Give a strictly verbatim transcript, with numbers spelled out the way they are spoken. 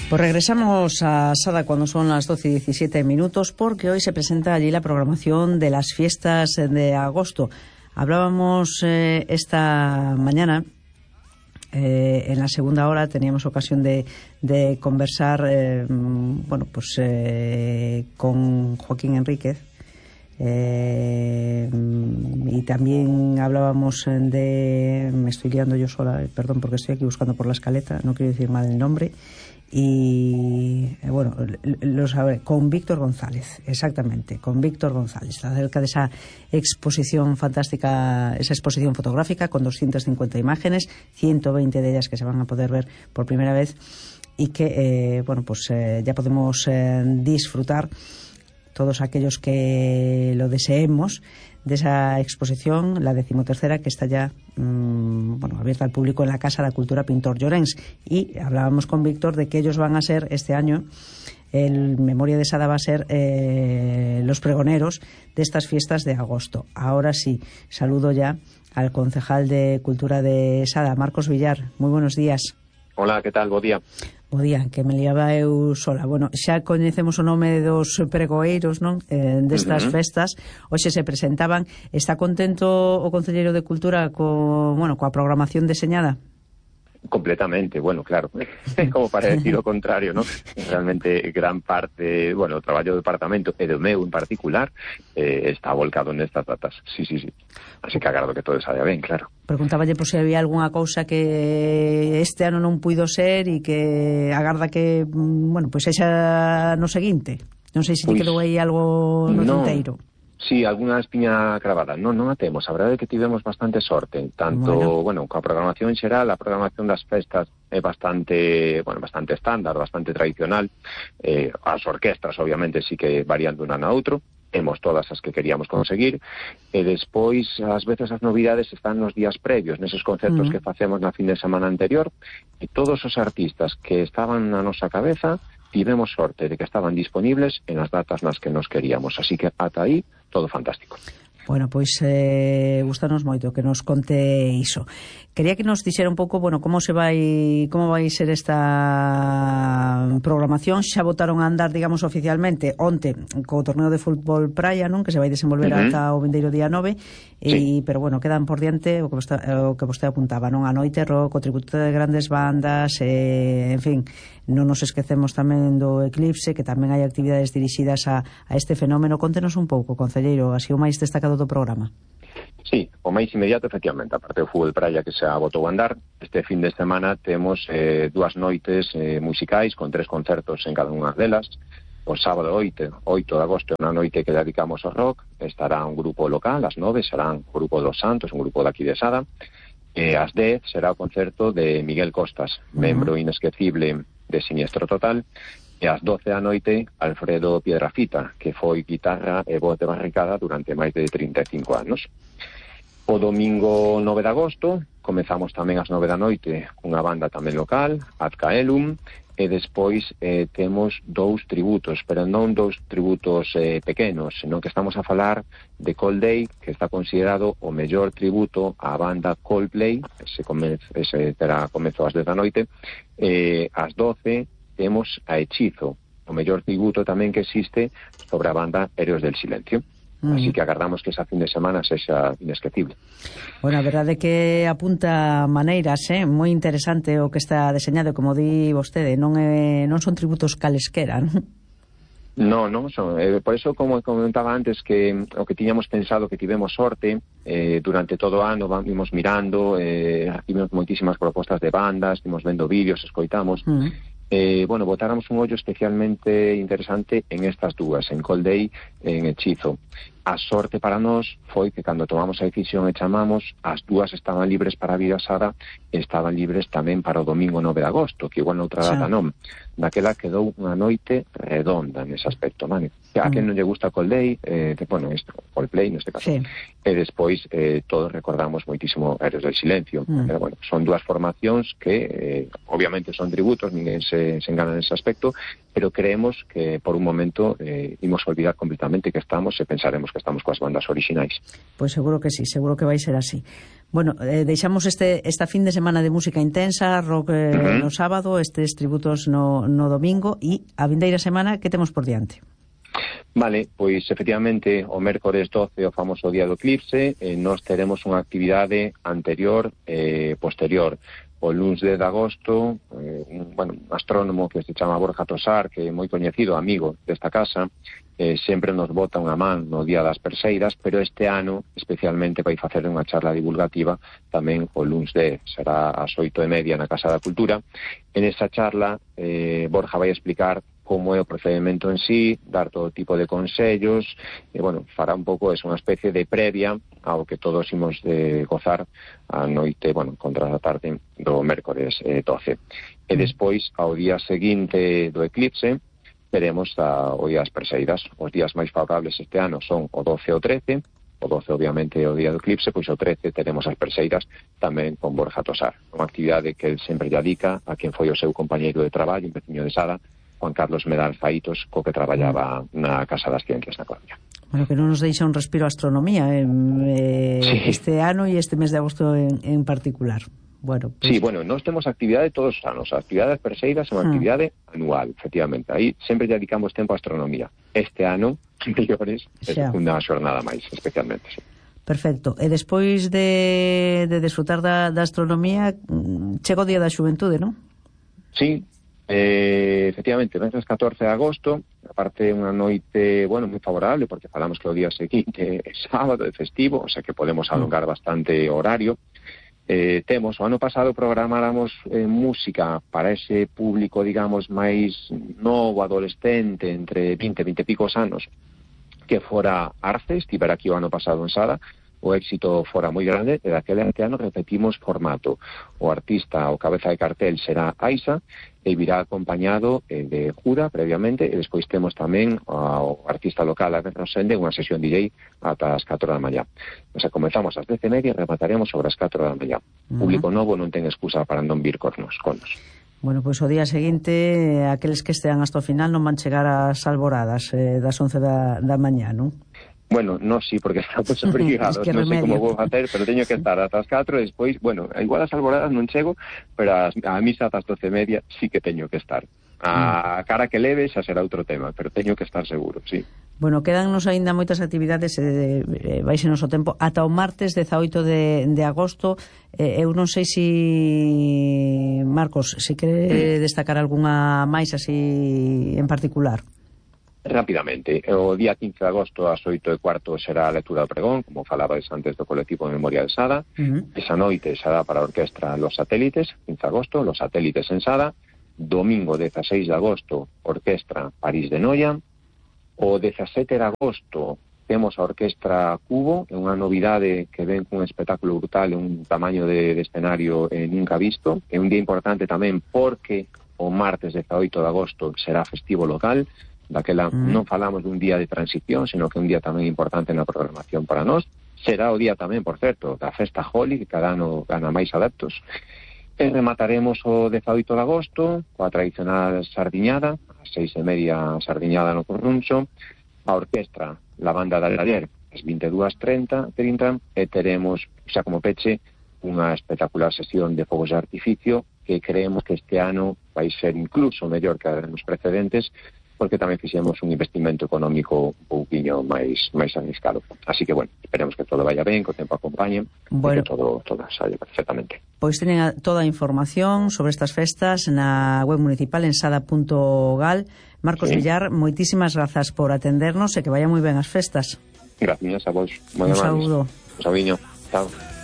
Pues regresamos a Sada cuando son las doce y diecisiete minutos, porque hoy se presenta allí la programación de las fiestas de agosto. Hablábamos eh, esta mañana, eh, en la segunda hora teníamos ocasión de, de conversar eh, bueno, pues eh, con Joaquín Enríquez, Eh, y también hablábamos de, me estoy liando yo sola, perdón, porque estoy aquí buscando por la escaleta, no quiero decir mal el nombre, y bueno, lo sabré, con Víctor González, exactamente, con Víctor González, acerca de esa exposición fantástica, esa exposición fotográfica con doscientas cincuenta imágenes, ciento veinte de ellas que se van a poder ver por primera vez y que eh, bueno, pues eh, ya podemos eh, disfrutar todos aquellos que lo deseemos de esa exposición, la decimotercera, que está ya mmm, bueno, abierta al público en la Casa de la Cultura Pintor Llorens. Y hablábamos con Víctor de que ellos van a ser este año, el Memoria de Sada va a ser eh, los pregoneros de estas fiestas de agosto. Ahora sí, saludo ya al concejal de Cultura de Sada, Marcos Villar. Muy buenos días. Hola, que tal? Bo día. Bo día, que me liaba eu sola. Bueno, xa coñecemos o nome dos pregoeiros, non? Eh, destas uh-huh. festas. Hoxe se presentaban. Está contento o Concelleiro de Cultura co, bueno, coa programación deseñada? Completamente, bueno, claro, como para decir o contrario, ¿no? Realmente gran parte, bueno, o traballo do departamento e do meu en particular eh, está volcado nestas datas, sí, sí, sí. Así que agardo que todo saia ben, claro. Preguntáballe por se había algunha cousa que este ano non puido ser e que agarda que, bueno, pois pues xa no seguinte. Non sei se pues, quedou aí algo no no. tinteiro. Sí, alguna espiña cravada. Non, non a temos. A verdade é que tivemos bastante sorte. Tanto, bueno, bueno coa programación xeral, a programación das festas é bastante, bueno, bastante estándar, bastante tradicional. Eh, as orquestras, obviamente, sí que varían dun ano a outro. Temos todas as que queríamos conseguir. E despois, ás veces, as novidades están nos días previos, neses concertos uh-huh. que facemos na fin de semana anterior. E todos os artistas que estaban na nosa cabeza tivemos sorte de que estaban disponibles en as datas nas que nos queríamos. Así que ata aí, todo fantástico. Bueno, pois eh, gustanos moito que nos conte iso. Quería que nos dixera un pouco, bueno, como se vai como vai ser esta programación. Xa botaron a andar, digamos, oficialmente onte co torneo de fútbol praia, non? Que se vai desenvolver uh-huh. ata o vindeiro día nove, sí. e pero bueno, quedan por diante o que vostede, o que vostede apuntaba, non? A noite rock, o tributo de grandes bandas, eh, en fin, non nos esquecemos tamén do Eclipse, que tamén hai actividades dirixidas a, a este fenómeno. Contenos un pouco, concelleiro, así o máis destacado do programa. Sí, o máis inmediato, efectivamente, aparte do fútbol praia que xa botou a andar, este fin de semana temos eh, dúas noites eh, musicais con tres concertos en cada unha delas. O sábado oito de agosto, na noite que dedicamos ao rock, estará un grupo local, ás nove serán o grupo dos Santos, un grupo daqui de Sada, e ás dez será o concerto de Miguel Costas, uh-huh. membro inesquecible de Siniestro Total, e ás doce da noite Alfredo Piedrafita, que foi guitarra e voz de barricada durante máis de trinta e cinco anos. O domingo nove de agosto comezamos tamén ás nove da noite cunha banda tamén local, Adcaelum, e despois eh, temos dous tributos, pero non dous tributos eh, pequenos, senón que estamos a falar de Coldplay, que está considerado o mellor tributo á banda Coldplay, ese, come, ese terá comezo ás dez da noite, eh, ás doce temos a Hechizo, o mellor tributo tamén que existe sobre a banda Héroes del Silencio. Mm. Así que agardamos que esa fin de semana sexa inesquecible. Bueno, a verdade é que apunta maneiras, eh? Moi interesante o que está deseñado, como di vostede, non é, non son tributos calesquera, non? No, non son. Eh, por eso, como comentaba antes, que o que tiñamos pensado que tivemos sorte, eh, durante todo o ano vimos mirando, eh, vimos moitísimas propostas de bandas, vimos vendo vídeos, escoitamos, mm. Eh, bueno, botáramos un ollo especialmente interesante en estas dúas, en Coldplay e en Hechizo. A sorte para nós foi que cando tomamos a decisión e chamamos, as dúas estaban libres para a vida Sada e estaban libres tamén para o domingo nove de agosto, que igual noutra data non. Daquela quedou unha noite redonda nese aspecto, vale? A quen non lle gusta Coldplay, eh, que, bueno, isto, Coldplay neste caso. Sí. E despois eh, todos recordamos moitísimo Héroes del Silencio. Mm. Pero, bueno, son dúas formacións que eh, obviamente son tributos, ninguén se, se engana nese aspecto, pero creemos que por un momento eh, imos olvidar completamente que estamos e pensaremos que estamos coas bandas orixinais. Pois seguro que sí, seguro que vai ser así. Bueno, eh, deixamos este esta fin de semana de música intensa, rock eh, uh-huh. no sábado, estes tributos no, no domingo, e a vindeira semana que temos por diante? Vale, pois efectivamente o mércores doce, o famoso día do eclipse, eh, nós teremos unha actividade anterior e eh, posterior. O luns de agosto, eh, un, bueno, un astrónomo que se chama Borja Tosar, que é moi coñecido, amigo desta casa, eh, sempre nos bota unha man no día das Perseidas, pero este ano especialmente vai facer unha charla divulgativa tamén o luns de, será ás oito e media na Casa da Cultura. En esa charla eh, Borja vai explicar como é o procedimento en sí, dar todo tipo de consellos, e, bueno, fará un pouco, é unha especie de previa ao que todos imos de gozar a noite, bueno, contra a tarde do mércores eh, doce. E despois, ao día seguinte do eclipse, veremos a, o día das Perseidas. Os días máis favorables este ano son o doce e o trece, o doce obviamente o día do eclipse, pois o trece teremos as Perseidas tamén con Borja Tosar, unha actividade que ele sempre lle dedica a quen foi o seu compañeiro de traballo, un veciño de Sada, Juan Carlos Medal Faitos, co que traballaba na Casa das Ciencias na Coruña. Bueno, que non nos deixa un respiro a astronomía eh, eh, sí. este ano e este mes de agosto en, en particular. Bueno, pues... Sí, bueno, nós temos actividade todos os anos. A actividade das Perseidas é unha ah. actividade anual, efectivamente. Aí sempre dedicamos tempo a astronomía. Este ano, mellores, é unha xornada máis, especialmente, sí. Perfecto. E despois de, de desfrutar da, da astronomía, chega o Día da Xuventude, non? Sí, Eh, efectivamente, venres catorce de agosto, aparte unha noite, bueno, moi favorable, porque falamos que o día seguinte é sábado, é festivo, o sea que podemos alongar bastante horario. Eh, temos, o ano pasado programáramos eh, música para ese público, digamos, máis novo, adolescente, entre vinte e vinte e picos anos, que fora Arce, estivera aquí o ano pasado en Sada. O éxito fora moi grande, e daquele ano repetimos formato. O artista, o cabeza de cartel será Aisa, e virá acompañado eh, de Jura previamente, e despois temos tamén o artista local a Rosende, unha sesión D J ata as catro da mañá. O sea, comenzamos ás dez e media e remataremos sobre as catro da mañá. Uh-huh. Público novo non ten excusa para non vir cornos, conos. Bueno, pois o día seguinte, aqueles que estean hasta o final non van chegar ás alboradas eh, das once da, da mañá, non? Bueno, no sí, porque estamos obrigados, es que non sei como vou facer, pero teño que estar ata as catro e despois, bueno, igual as alboradas non chego, pero a misa ata as doce e media sí que teño que estar. A cara que leve xa será outro tema, pero teño que estar seguro, sí. Bueno, quedannos aínda moitas actividades, eh, eh, vaise noso tempo, ata o martes dezaoito de, de agosto. Eh, eu non sei si, Marcos, se quere destacar algunha máis así en particular. Rápidamente, o día quince de agosto ás oito e cuarto será a lectura do pregón, como falabais antes do colectivo de memoria de Sada. Uh-huh. Esa noite será para a orquestra Los Satélites, quince de agosto, Los Satélites en Sada. Domingo dezaseis de agosto, orquestra París de Noia. O dezasete de agosto temos a orquestra Cubo, é unha novidade que ven cun espectáculo brutal, un tamaño de, de escenario eh, nunca visto. É un día importante tamén porque o martes dezaoito de agosto será festivo local. Daquela mm. non falamos dun día de transición, sino que un día tamén importante na programación para nós. Será o día tamén, por certo, da festa Holi, que cada ano gana máis adeptos. E remataremos o dezaoito de agosto coa tradicional sardiñada, a seis e media sardiñada no Corruncho, a orquestra La Banda de Alader, as vinte e dúas e trinta, e teremos, xa como peche, unha espectacular sesión de fogos de artificio que creemos que este ano vai ser incluso mellor que nos precedentes, porque tamén fixemos un investimento económico un pouquiño máis máis arriscado. Así que, bueno, esperemos que todo vaya ben, que o tempo acompañe, bueno, e que todo, todo saia perfectamente. Pois teñen a, toda a información sobre estas festas na web municipal en sada punto gal. Marcos sí. Villar, moitísimas grazas por atendernos e que vaya moi ben as festas. Gracias a vos. Un saúdo. Un saúdiño. Chao.